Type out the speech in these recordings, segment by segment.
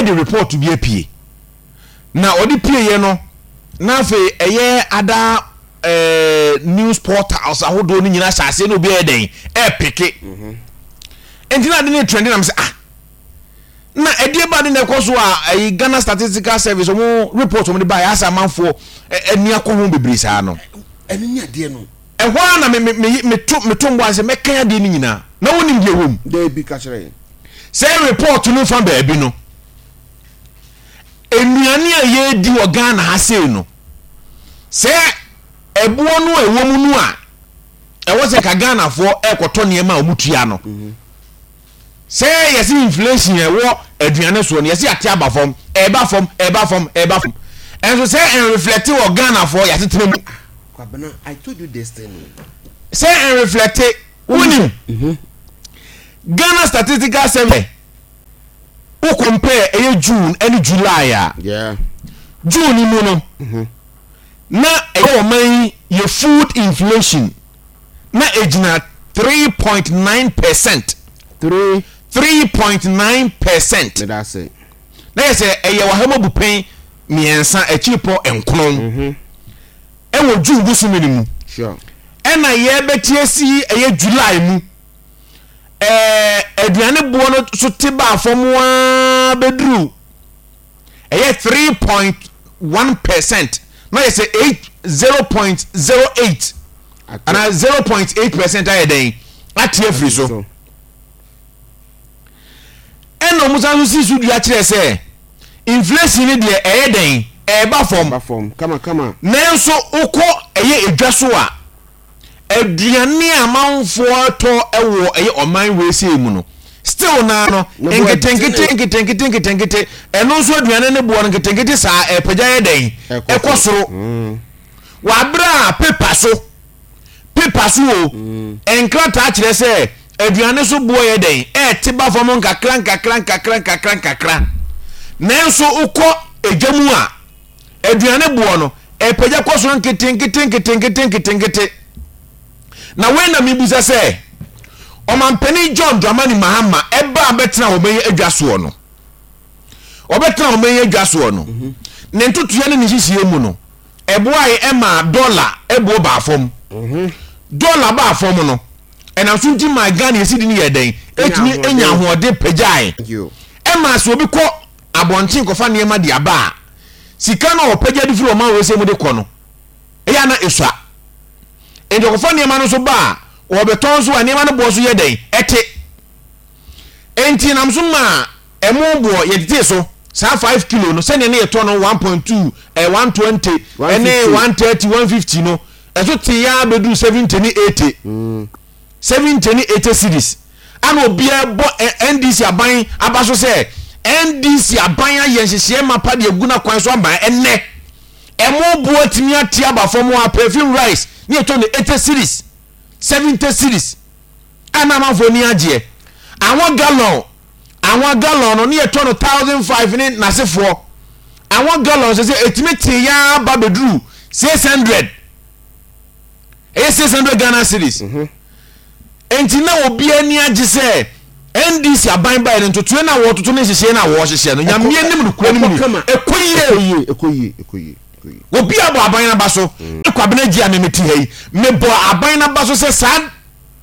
De report bi apue. Na ɔde pieeɛ no, na afei ɛyɛ ada ɛɛ news portals ahodoɔ no nyinaa hyɛ aseɛ na obi ayɛ dɛn ɛɛpeke. Nti na ade no trend na mesɛ ah na ɛdeɛ ba de na ɛkɔ so a ɛyi Ghana Statistical Service wɔn report wɔn de ba yɛ asɛ amanfoɔ ani akɔ ho bebree saa no. Ɛno ne adeɛ no. Ɛhɔ ara na me me me meto meto mbɔ ase mɛkan adeɛ no nyinaa na wonim deɛ ɛwɔ mu. Daabi ka kyerɛ yɛn. Sɛ report no fa baabi no, nnuane a yɛredi wɔ Ghana ha sei no, sɛ ɛboɔ no a ɛwɔ mu no a ɛwɔ sɛ ka Ghanafoɔ ɛrekɔtɔ nneɛma a wɔtua no. Sɛ yɛse inflation a ɛwɔ aduane soɔ no, yɛse ate aba fam, ɛreba fam, ɛreba fam, ɛreba fam. Ɛnso sɛ ɛnreflɛte wɔ Ghanafoɔ yɛasetena mu. Kwabena, I told you this thing. Sɛ ɛnreflɛte, wonim. Mhm. Ghana Statistical Service, wo compare ɛyɛ June ɛne July a, yeah. June mu no, mm -hmm. na ɛyɛ ɔman yi yɛ food inflation na egyina 3.9%. 3.9%. Medase. Na yɛ sɛ ɛyɛ ɔha mu abupɛn mmiɛnsa akyiripɔ nkron mhm. ɛwɔ June bosome no mu. Ɛna yɛbɛte asi ɛyɛ July mu. Ɛɛ aduane boɔ no so te baa fam ara bɛduru ɛyɛ 3.1% na yɛ sɛ 8 0.08 anaa 0.8% ayɛ dɛn ate afiri so. Ɛna wɔn san so si so dua kyerɛ sɛ inflation no deɛ ɛyɛ dɛn ɛreba fam. Ɛba fam kama kama. Nanso wokɔ ɛyɛ edwa so a aduane a amanfoɔ tɔ wɔ ɛyɛ ɔman wei sei mu no still naa no nketenkete nketenkete nketenkete ɛno nso aduane ne boɔ no nketenkete saa ɛpagya yɛ dɛn ɛkɔ soro mm. Wɔ abere a paper so paper so o mm. nkrataa kyerɛ sɛ aduane so boɔ yɛ dɛn ɛɛte ba fam nkakra nkakra nkakra nkakra nkakra nanso wokɔ edwa mu a aduane boɔ no ɛpagya kɔ soro nketenkete nketenkete nketenkete na wei na mebisa sɛ ɔmampanin John Dramani Mahama ɛba abɛtena wɔn yi adwa soɔ no ɔbɛtena wɔn yi adwa soɔ no mhm. ne ntotoeɛ ne ne nhyehyɛeɛ mu no Ɛboae maa dɔla boɔ baa fam. Dɔla baa fam no, ɛnam so nti maa Ghana cedi no yɛɛ dɛn? Ɛtumi nya ahoɔden pagyae. Ɛmaa sɛ obi kɔ abɔnten kɔfa nneɛma de aba a, sika no a ɔpagya de firi ɔman wei mu de kɔ no, ɛyɛ a na ɛsua. Enti ɔkɔfa nneɛma no nso ba a, ɔrebɛtɔn nso a, nneɛma no boɔ nso yɛ dɛn? Ɛte. Enti ɛnam so maa Ɛmo boɔ yɛtetee so saa 5 kilo no sɛdeɛ ne yɛtɔ no 1.2 eh, 120 ɛne 130 150 no ɛso tee ya bɛduru 70 ne 80 70 ne 80 cedis ana obiara bɔ NDC aban aba so sɛ NDC aban ayɛ nhyehyɛɛ mapa de agu n'akwan so ama ɛnɛ ɛmo boɔ atumi ate aba fam a perfume rice ne yɛtɔ no 80 cedis 70 cedis a na amanfoɔ ani agyeɛ anwa gallon Anwa gallon no ne yɛtɔ no 1005 ne n'asefoɔ. Anwa gallon sɛ sɛ ɛtumi tee yaa ba bɛduru 600. Ɛyɛ 600 Ghana cedis. Mhm. Enti na obi ani agye sɛ NDC aban baeɛ no ntotoeɛ no a wɔtoto ne nhyehyɛeɛ no a wɔhyehyɛ no Nyame anim nokorɛ no mu ni ɛkɔ yie. Ɛkɔ yie, ɛkɔ yie. Obi abɔ aban no aba so. Mm. Kwabena gye a memete ha yi mebɔ aban no aba so sɛ saa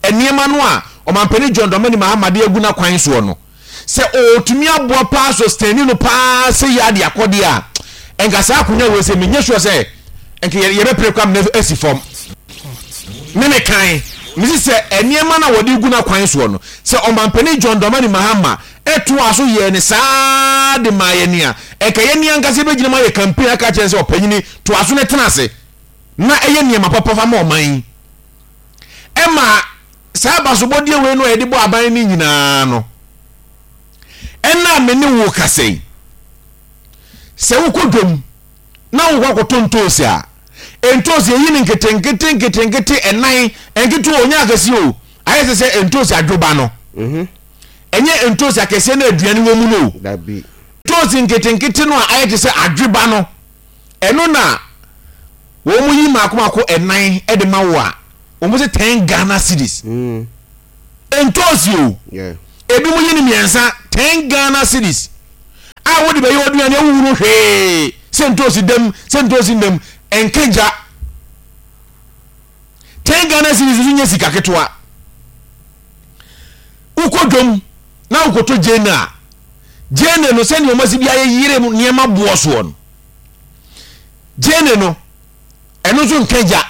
nneɛma no a Ɔmanpanin John Dramani Mahama de agu n'akwan soɔ no, sɛ ɔretumi aboa paa sustaini no paa sɛ yɛ ade akɔ deɛ a, nka saa akonnwa wei sɛ menyɛ sure sɛ nka yɛbɛpere kɔ amena asi fam. Me me kan, mesi sɛ nneɛma no a wɔde gu n'akwan soɔ no, sɛ Ɔmanpanin John Dramani Mahama ɛtoa so yɛɛ ne saa de maa yɛn a, nka yɛn ankasa yɛbɛgyina mu ayɛ campaign aka akyerɛ no sɛ ɔpanyini toa so na tena ase na ɛyɛ nneɛma papa fa ma ɔman yi. Ɛma saa abasobɔdeɛ wei no a yɛde bɔ aban no nyinaa no, ɛna me ne wo kasa yi, sɛ wokɔ dwam na wokɔ akɔtɔ ntoosi a, ntoosi yɛyi no nketenkete nketenkete ɛnan, nketewa o, nyɛ akɛseɛ o, ayɛ sɛ sɛ ntoosi adwoba no. Mhm. Ɛnyɛ ntoosi akɛseɛ no aduane wɔ mu no o. Ntoosi nketenkete no a ayɛ te sɛ adwoba no, ɛno na wɔn yi mako mako ɛnan de ma wo a, wɔn sɛ 10 Ghana cedis. Mm. Ntoosi o. Ebi mo yi ne mmiɛnsa 10 Ghana cedis. a wode bɛyɛ w'aduane a wohunu hwee sɛ ntoosi dam sɛ ntoosi nnam ɛnka gya. 10 Ghana cedis nso nyɛ sika ketewa. Wokɔ dwam na wokɔtɔ gyeene a, gyeene no sɛdeɛ wɔasi bi ayeyere nneɛma boɔ soɔ no, gyeene no ɛno nso nka gya.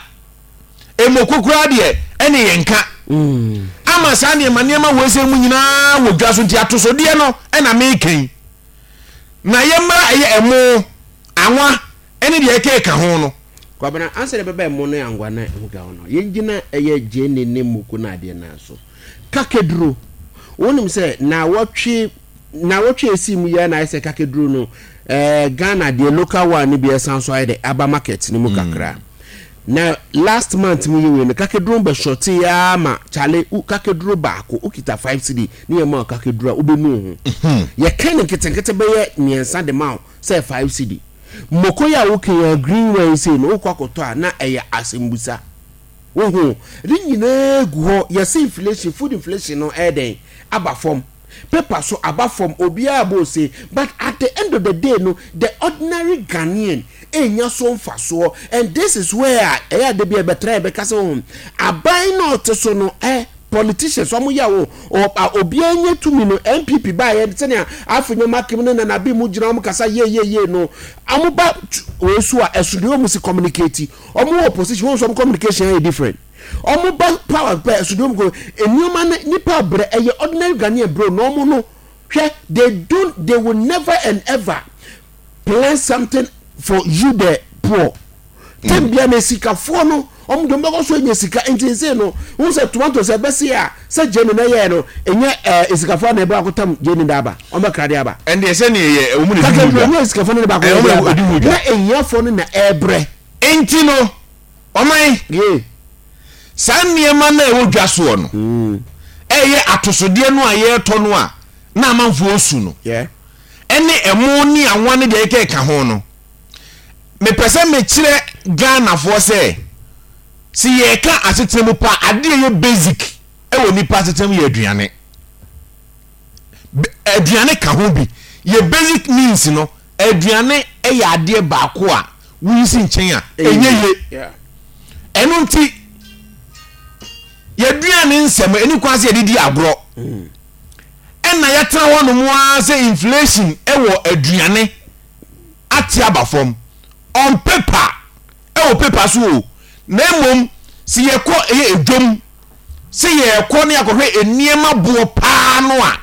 Mmoko koraa deɛ ɛne yɛn nka. Mm. Ama saa nneɛma nneɛma wɔ ɛsɛ mu nyinaa wɔ dwa so nti atosodeɛ no ɛna meka yi. Na yɛmmra ɛyɛ ɛmo, anwa ɛne deɛ ɛkeka ho no. Kwabena, ansa na ɛbɛba ɛmo ne angwa ne ho ka ho no, yɛngyina ɛyɛ gyeene ne mmoko ne adeɛ no ara so. Kakeduro, wonim sɛ naawɔtwe naawɔtwe a ɛsii mu yi ara na ayɛ sɛ kakeduro no ɛɛ Ghana deɛ local one no bi ɛsan so ayɛ dɛ aba market no mu kakra. Na last month mu yi wei no kakeduro bɛ shorte ara ma kyale wo kakeduro baako wokita 5 cedi ne yɛ ma wo kakeduro a wobɛnu wo ho. Yɛka no nketenkete bɛyɛ mmiɛnsa de ma wo sɛ 5 cedi. Moko yi a woka yi a green one yi sei no wokɔ akɔtɔ a na ɛyɛ asɛmbusa. Wohu? Ne nyinaa gu hɔ. Yɛse inflation, food inflation no ɛyɛ dɛn? Aba fam. Paper so aba fam, obiara bɔ ose. But at the end of the day no, the ordinary Ghanaian ɛnnya so mfasoɔ. And this is where a ɛyɛ a da bi a yɛbɛtra yɛbɛka sɛ wohu, aban no a ɔte so no eh, politicians wɔn yɛ wo obiara nya tumi no NPP baayɛ sɛnea Afenyo Makim ne Nana Bi mu gyina wɔn kasa yie yie yie no wɔn ba wei so a ɛso deɛ wɔn si communicate wɔn wɔ opposition wɔn nso wɔn communication ayɛ different wɔn ba power pɛ ɛso deɛ wɔn kɔ nneɛma no nipa brɛ ɛyɛ ordinary Ghanaian bro na wɔn no hwɛ they don't they will never and ever plan something for you the poor tɛm bia na sikafoɔ no wɔn de wɔn bɛkɔ so anya sika nti nse no wɔn sɛ tomatoes ɛbɛsi a sɛ gyeni na ɛyɛ no ɛnyɛ ɛɛ sikafoɔ na ɛbɛ akotam gyeni da aba wɔn bɛkra de aba. Ɛndeɛ sɛ ne ɛyɛ wɔn na ɛdi ho dwa. Ɛnyɛ sikafoɔ no na baako yɛ de aba na ehiafoɔ no na ɛɛbrɛ. Nti no ɔman Yee. saa nneɛma no a ɛwɔ dwa soɔ no ɛyɛ atosodeɛ no a yɛretɔ no a na amanfoɔ su no Yeah. ɛne ɛmo ne anwa ne deɛ ɛkeka ho no mepɛ sɛ mekyerɛ Ghanafoɔ sɛ sɛ yɛreka asetena mu pa adeɛ ɛyɛ basic ɛwɔ nipa asetena mu yɛ aduane aduane ka ho bi yɛ basic needs no aduane yɛ adeɛ baako a woyi si nkyɛn a ɛnyɛ ye ɛno nti yɛaduane nsɛm ɛni kwan sɛ yɛde di agorɔ mm. Ɛna yɛtena hɔ nom ara sɛ inflation wɔ aduane ate aba fam on paper, ɛwɔ paper so o, na mmom sɛ yɛkɔ ɛyɛ edwam sɛ yɛkɔ ne akɔhwɛ nneɛma boɔ paa no a,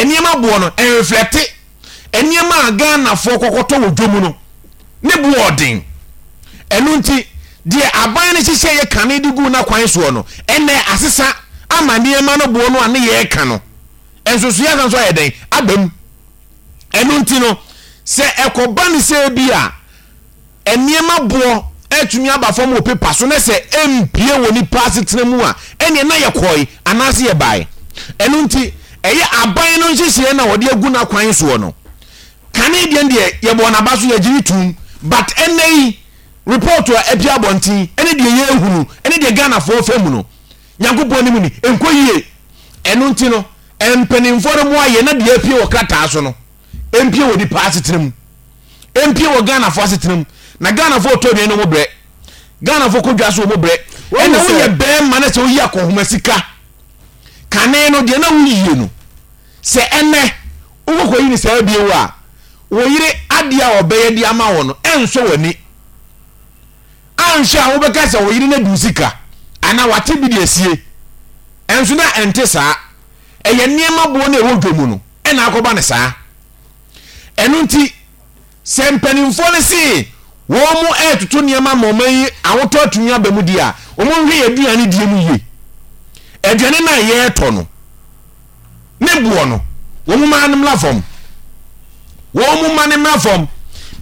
nneɛma boɔ no ɛnreflɛte nneɛma a Ghanafoɔ kɔkɔtɔ wɔ dwam no ne boɔ ɔden. Ɛno nti, deɛ aban no hyehyɛeɛ kane de guu n'akwan soɔ no, ɛnnɛ asesa ama nneɛma no boɔ no a ne yɛreka no nsosoeɛ asan nso ayɛ dɛn? Aba mu. Ɛno nti no, sɛ ɛkɔba no sɛ bi a nneɛma boɔ atumi aba fam wɔ pepa so na sɛ ɛmpue wɔ nipa asetena mu a, ɛnneɛ na yɛkɔe anaasɛ yɛbae. Ɛno nti, ɛyɛ aban no nhyehyɛeɛ na wɔde agu n'akwan soɔ no. Kane deɛ deɛ yɛbɔɔ n'aba so yɛgye no toom but ɛnnɛ yi report a apue abɔnten ɛne deɛ yɛrehunu ɛne deɛ Ghanafoɔ fa mu no Nyankopɔn anim ni ɛnkɔ yie. Ɛno nti no mpanimfoɔ no moa yɛn na deɛ apue wɔ krataa so no ɛmpue wɔ nipa asetena mu, ɛmpue wɔ Ghanafoɔ asetena mu. Na Ghanafoɔ tɔ aduane no wɔn brɛ, Ghanafoɔ kɔ dwa so wɔn brɛ. Ɛnna woyɛ bɛrima na sɛ woyi akɔnhoma sika kane no deɛ na woyie no Sɛ ɛnnɛ wokɔkɔyi no saa bio a, wo yere adeɛ a ɔbɛyɛ de ama wo no ɛnsɔ w'ani. Anhwɛ a wobɛka sɛ wo yere no adi wo sika anaa wate bi de asie. Ɛnso na ɛnte saa. Ɛyɛ nneɛma boɔ no a ɛwɔ dwa mu no na akɔba no saa. Ɛno nti, sɛ mpanimfoɔ no se wɔn retoto nneɛma ma ɔman yi ahotɔ atumi aba mu deɛ a, wɔnhwɛ yɛn aduane die mu yie. Aduane no a yɛretɔ no, ne boɔ no wɔn mma no mmra fam wɔn mma no mmra fam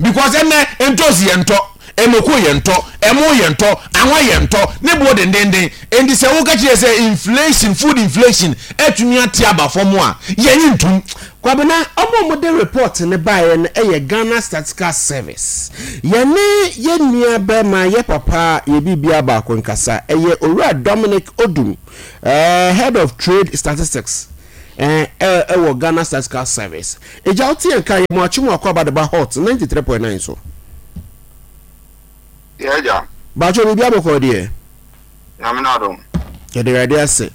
because ɛnɛ ntoosi yɛ ntɔ emoko yɛ ntɔ ɛmo yɛ ntɔ anwa yɛ ntɔ ne boɔ dendenden nti sɛ woka kyerɛ sɛ inflation food inflation atumi ate aba fam a yɛnye ntum. Kwabena, wɔn a wɔde report no baeɛ no yɛ Ghana Statistical Service. Yɛne yɛn nua barima, yɛ papa, yɛ biribiara baako nkasa. Ɛyɛ Owura Dominic Odum. Eh, head of trade statistics. eh, ɛwɔ Ghana Statistical Service. Agya wote yɛn ka yɛ mo akye mo akɔ aba de ba Hot 93.9 so. Yɛ agya. Bakyɛ biribi abɔkɔ deɛ. Nyame n'adom. Yɛda Awurade ase.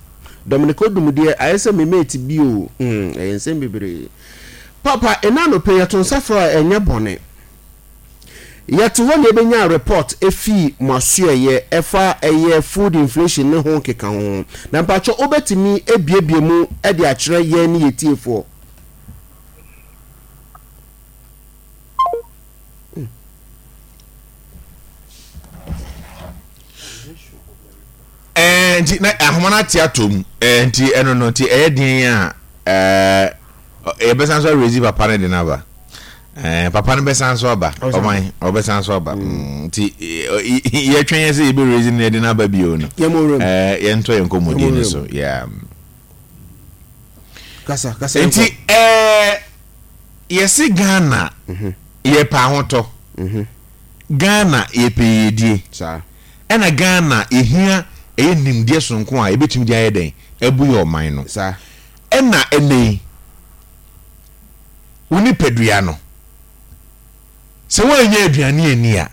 Dominic Odum deɛ ayɛ sɛ me mate bi o. Hmm, ɛyɛ nsɛm bebree. Papa, ɛna anɔpɛ yɛto nsa frɛ a ɛnyɛ bɔne. Yɛte hɔ na yɛbɛnya report ɛfii mo asoɛeɛ ɛfa ɛyɛ food inflation ne ho nkekaho ho. Na mpakyɛ wobɛtumi abiebie mu de akyerɛ yɛn ne yɛn tiefoɔ? Ɛɛ nti na ahoma no ate atɔ mu ɛɛ nti ɛno no nti ɛyɛ den a ɛɛ yɛbɛsan so arezi papa no de no aba ɛɛ papa no bɛsan so aba ɔman ɔbɛsan so aba mm. nti yɛtwɛn yɛ sɛ yɛbɛ rezi no de no aba bio no ɛɛ yɛntɔ yɛn nkɔmmɔdie no so yeah. Kasa kasa nti ɛɛ yɛsi Ghana mhm. yɛpɛ ahotɔ mhm. Ghana yɛpɛ yiedie. Ɛna Ghana yɛhia ɛyɛ nimdeɛ sononko a yɛbɛtumi de ayɛ dɛn abu yɛ ɔman no. Ɛna ɛnɛ yi wo nipadua no sɛ woannya aduane anni a.